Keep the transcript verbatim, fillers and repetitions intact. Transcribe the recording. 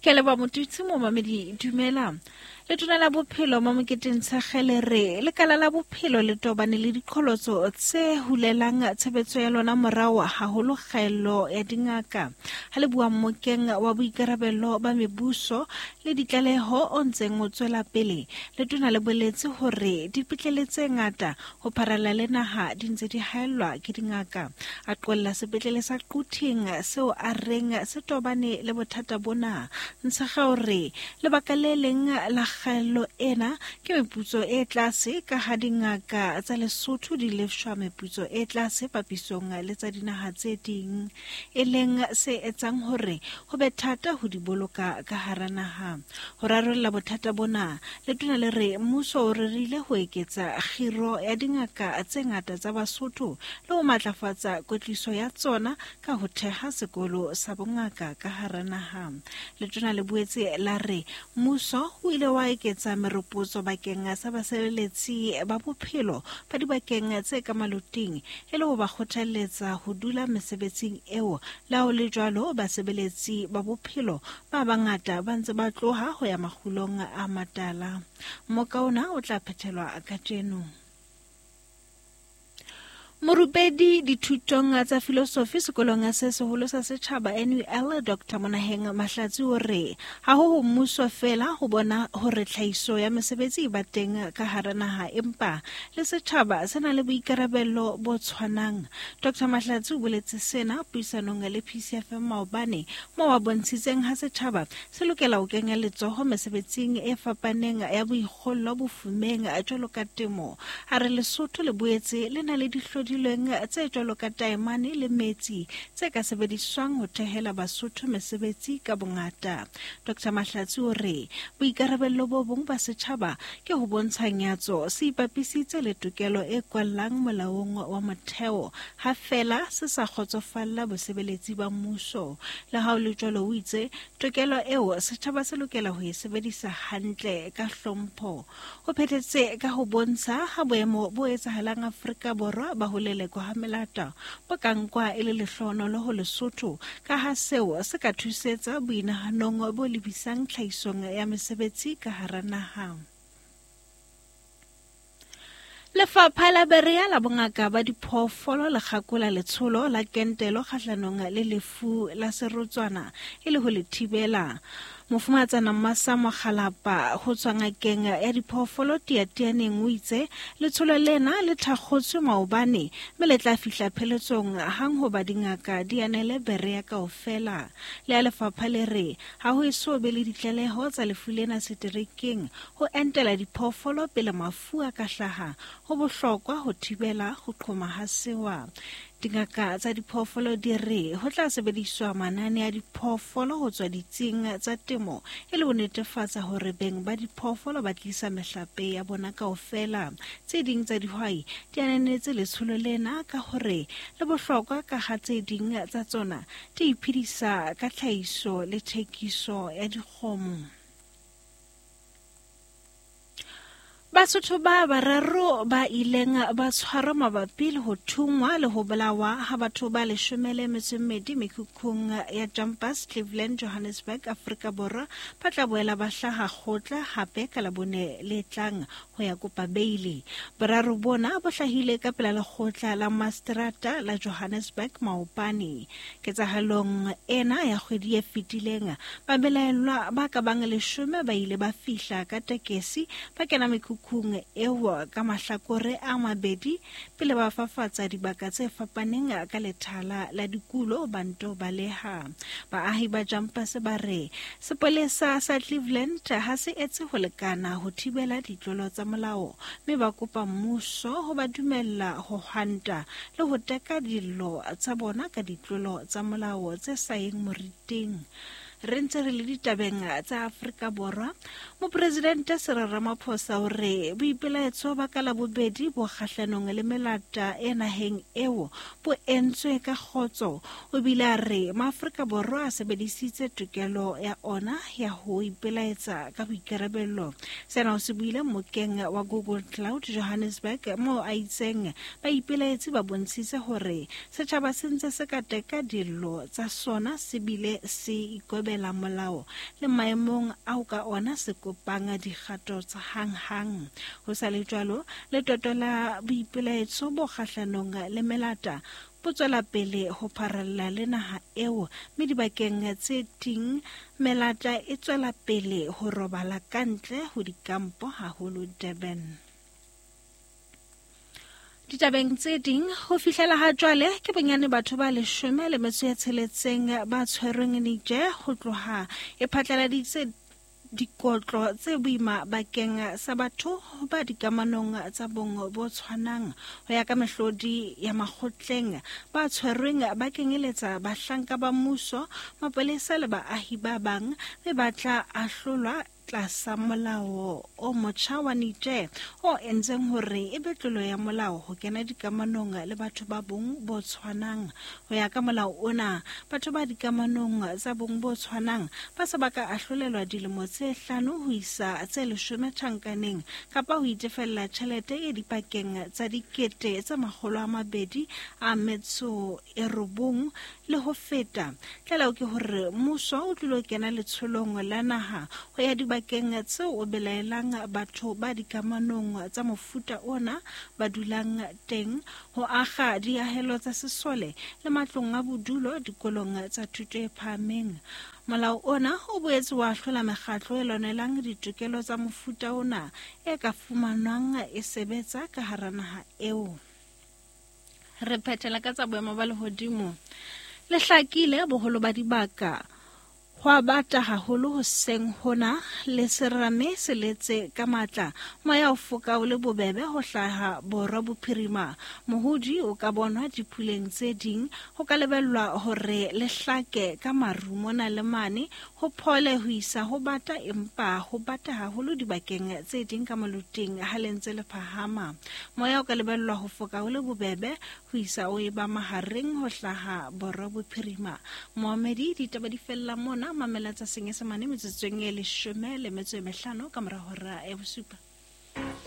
Ke leboha Motutsi momamedi, dumela. Letona la bophelo Mamokete Ntshekge re lekala la bophelo le tobane le diqholotso tse hulelang tshebetso ya lona morao haholo kgaello ya dingaka. Ha le bua mmokeng wa boikarabello ba mebuso le ditlaleho o ntseng o tswela pele, letona le boletse hore dipetlele tse ngata ho pharalla le naha di ntse di haellwa ke dingaka. A qolla sepetlele sa Quthing seo a reng se tobane le bothata bona. Ntshekge o re lebaka le leng la kgaello ena ke meputso e tlase ka ha dingaka tsa Lesotho di lefshwa meputso e tlase papisong le tsa dinaha tse ding, e leng se etsang hore ho be thata ho di boloka ka hara naha. Ho rarolla bothata bona, letona le re mmuso o rerile ho eketsa kgiro ya dingaka tse ngata tsa Basotho le ho matlafatsa kwetliso ya tsona ka ho theha sekolo sa bongaka ka hara naha. Letona le boetse la re mmuso o ile wa eketsa meropotso bakeng sa basebeletsi ba bophelo ba dibakeng tse ka maloting e le ho ba kgothalletsa ho dula mesebetsing eo. Le ha ho le jwalo, basebeletsi ba bophelo ba bangata ba ntse ba tloha ho ya makgulong a matala. Mmoka ona o tla phethelwa kajeno. Morupedi dithutong tsa filosofi sekolong se seholo sa setjhaba N U L Doctor Monaheng Mahlatsi o re ha ho ho mmuso fela ho bona hore tlhahiso ya mesebetsi e ba teng ka hara naha, empa le setjhaba se na le boikarabello bo tshwanang. Doctor Mahlatsi o boletse sena puisanong le P C F M maobane, moo a bontshitseng ha setjhaba se lokela ho kenya letsoho mesebetsing e fapaneng ya boikgollo bofumeng jwalo ka temo. A re Lesotho le boetse le na le dihlodi dilweng tse jwalo ka taemane le metsi tse ka sebediswang ho thehela Basotho mesebetsi ka bongata. Doctor Mahlatsi o re boikarabello bo bong ba setjhaba ke ho bontsha nyatso se ipapisitse le tokelo e kwallang molaong wa motheo ha fela se sa kgotsofalla bosebeletsi ba mmuso. Le ha ho le jwalo, o itse tokelo eo setjhaba se lokela ho e sebedisa hantle ka hlompho. Ho phethetse ka ho bontsha ha boemo bo etsahalang Afrika Borwa ba ho lelekwa ha melata bo ka nkwa e le lehlohonolo ho Lesotho, ka ha seo se ka thusetsa boinahanong bo lebisang tlhahisong ya mesebetsi ka hara naha. Lefapha la Berea la bongaka ba diphoofolo le kgakola letsholo la kentelo kgahlanong le lefu la serotswana e le ho le thibela. Mofumahatsana Mmasa Mokgalapa ho tswa ngakeng ya diphoofolo Tiatianeng o itse letsholo lena le thakgotswe maobane mme le tla fihla pheletsong hang hoba dingaka di anele Berea kaofela. Le ya lefapha le re ha ho eso be le ditlaleho tsa lefu lena seterekeng, ho entela diphoofolo pele mafu a ka hlaha ho bohlokwa ho thibela ho qhoma ha sewa. Dingaka tsa diphoofolo di re ho tla sebediswa manane a diphoofolo ho tswa ditsing tsa temo e le ho netefatsa hore beng ba diphoofolo ba tlisa mehlape ya bona kaofela. Tse ding tsa dihwai di ananetse letsholo lena ka hore le bohlokwa ka ha tse ding tsa tsona di iphedisa ka tlhahiso le thekiso ya dikgomo. Basotho ba bararo ba ileng ba tshwarwa mabapi le ho thungwa le ho bolawa ha batho ba leshome le metso e mmedi mekhukhung ya Jumpers, Cleveland, Johannesburg, Afrika Borwa ba tla boela ba hlaha kgotla hape ka Labone le tlang ho ya kopa beili. Boraro bona bo hlahile ka pela lekgotla la Mastrata la Johannesburg maobane. Ketsahalong ena ya kgwedi e fetileng, babelaellwa ba ka bang leshome ba ile ba fihla ka tekesi ba kena mekhukhung eo ka mahlakore a mabedi pele ba fafatsa dibaka tse fapaneng ka lethala la dikulo ba nto baleha. Baahi ba Jumpers ba re sepolesa sa Cleveland ha se etse ho lekana ho thibela ditlolo tsa molao, mme ba kopa mmuso ho ba dumella ho hwanta le ho teka dillo tsa bona ka ditlolo tsa molao tse sa yeng moriting. Re ntse re le ditabeng tsa Afrika Borwa, Mopresidente Cyril Ramaphosa o re boipelaetso ba ka Labobedi bo kgahlanong le melata e naheng eo bo entswe ka kgotso. O bile a re Maafrika Borwa a sebedisitse tokelo ya ona ya ho ipelaetsa ka boikarabello. Sena o se buile mmokeng wa Google Cloud Johannesburg, moo a itseng baipelaetsi ba bontshitse hore setjhaba se ntse se ka teka dillo tsa sona se bile se ikobela ikobela molao le maemong ao ka ona se kopang dikgato tsa hanghang. Ho sa le jwalo, letoto la boipelaetso bo kgahlanong le melata bo tswela pele ho pharalla le naha eo, mme dibakeng tse ding melata e tswela pele ho robala kantle ho dikampo haholo Durban. Ditabeng tse ding, ho fihlela ha jwale ke bonyane batho ba leshome le metso e tsheletseng ba tshwerweng Niger ho tloha e phatlaladitse dikotlo tse boima bakeng sa batho ba dikamanong tsa bong bo tshwanang. Ho ya ka mehlodi ya makgotleng, ba tshwerweng ba kenyeletsa bahlanka ba mmuso, mapolesa le baahi ba bang, mme ba tla ahlolwa tlasa molao o motjha wa Niger o entseng hore e be tlolo ya molao ho kena dikamanong le batho ba bong bo tshwanang. Ho ya ka molao ona, batho ba dikamanong tsa bong bo tshwanang ba se ba ka ahlolelwa dilemo tse hlano ho isa tse leshome tjhankaneng kapa ho itefella tjhelete e dipakeng tsa dikete tse makgolo a mabedi a metso e robong le ho feta. Tlaleho ke hore mmuso o tlilo kena letsholong la naha ho ya dibakeng tseo o belaelang batho ba dikamanong tsa mofuta ona ba dulang teng, ho akga diahelo tsa sesole le matlong a bodulo dikolong tsa thuto e phahameng. Molao ona o boetse wa ahlola mekgatlo e lwanelang ditokelo tsa mofuta ona e ka fumanwang e sebetsa ka hara naha eo. Re phethela ka tsa boemo ba lehodimo. Le hlakile boholo ba dibaka Hwa bata haholo hoseng hona le serame se letse ka matla. Moya o foka o le bobebe ho hlaha borwa bophirima. Mohodi o ka bonwa dipuleng tse ding. Ho ka lebellwa hore le hlake ka maru mona le mane, ho phole ho isa ho bata, empa ho bata haholo dibakeng tse ding ka moluting ha le ntse le phahama. Moya o ka lebellwa ho foka o le bobebe ho isa o eba mahareng ho hlaha borwa bophirima. Moamedi ditaba di fella mona. Mamela tsa Senyesemane metsotsong e leshome le metso e mehlano ka mora hora ya bosupa.